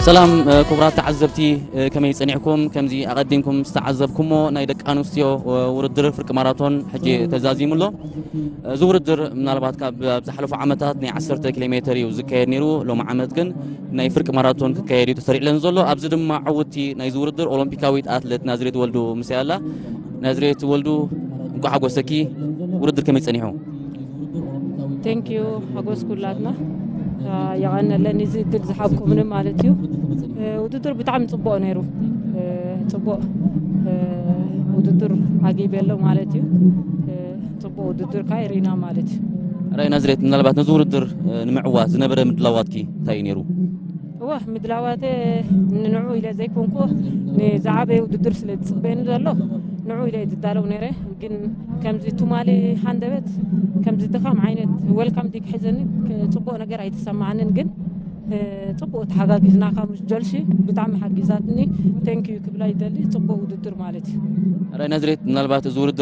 ሰላም ክቡራት ተዓዘብቲ፣ ከመይ ጸኒሕኩም? ከምዚ ኣቐዲምኩም ዝተዓዘብኩሞ ናይ ደቂ ኣንስትዮ ውድድር ፍርቂ ማራቶን ሕጂ ተዛዚሙ ኣሎ። እዚ ውድድር ምናልባት ካብ ኣብ ዝሓለፉ ዓመታት ናይ ዓሰርተ ኪሎ ሜተር እዩ ዝካየድ ነይሩ። ሎም ዓመት ግን ናይ ፍርቂ ማራቶን ክካየድ እዩ ተሰሪዕለን ዘሎ። ኣብዚ ድማ ዕውቲ ናይዚ ውድድር ኦሎምፒካዊት ኣትሌት ናዝሬት ወልዱ ምሳይ ኣላ። ናዝሬት ወልዱ፣ እንኳዕ ሓጎሰኪ። ውድድር ከመይ ጸኒሑ? ቴንኪዩ ሓጎስ ኩላትና። የቐነለኒ እዚ እድል ዝሓብኩምኒ ማለት እዩ። ውድድር ብጣዕሚ ፅቡቅ ነይሩ። ፅቡቅ ውድድር ኣጊበሎ ማለት እዩ። ፅቡቅ ውድድር ካይ ሪና ማለት እዩ። ራይ ናዝሬት፣ ምናልባት ነዚ ውድድር ንምዕዋት ዝነበረ ምድላዋትኪ እንታይ እዩ ነይሩ? እወ ምድላዋተ ንንዑ ኢለ ዘይኮንኩ ንዝዓበየ ውድድር ስለ ዝፅበየኒ ዘሎ ንዑ ኢለ ዝዳለው ነይረ። ግን ከምዚ ትማሊ ሃንደበት ከምዚ ድኻም ዓይነት ወልካም ዲክ ሒዘኒ ፅቡቅ ነገር ኣይተሰማዓንን። ግን ፅቡቅ ተሓጋጊዝናካ ምስ ጆልሺ ብጣዕሚ ሓጊዛትኒ። ቴንኪዩ ክብላ ይደሊ። ፅቡቅ ውድድር ማለት እዩ። ራይ ናዝሬት፣ ምናልባት እዚ ውድድር